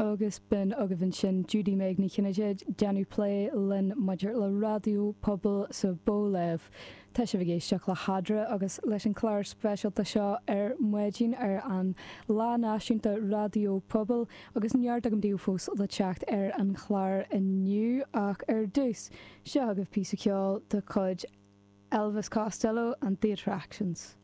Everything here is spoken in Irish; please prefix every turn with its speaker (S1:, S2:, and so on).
S1: Agus b'in agaibh ansin Judy Meg Ní Chinnéide ag déanamh plé linn maidir le raidió pobail sa Bhóléimh. Tá sibh ag éisteacht le hEadra agus leis an chlár speisialta seo ar maidin ar an Lá Náisiúnta Raidió Pobail agus neart agam daoibh fós le teacht ar an chlár inniu ach ar dtús, seo agaibh píosa ceoil de chuid Elvis Costello and The Attractions.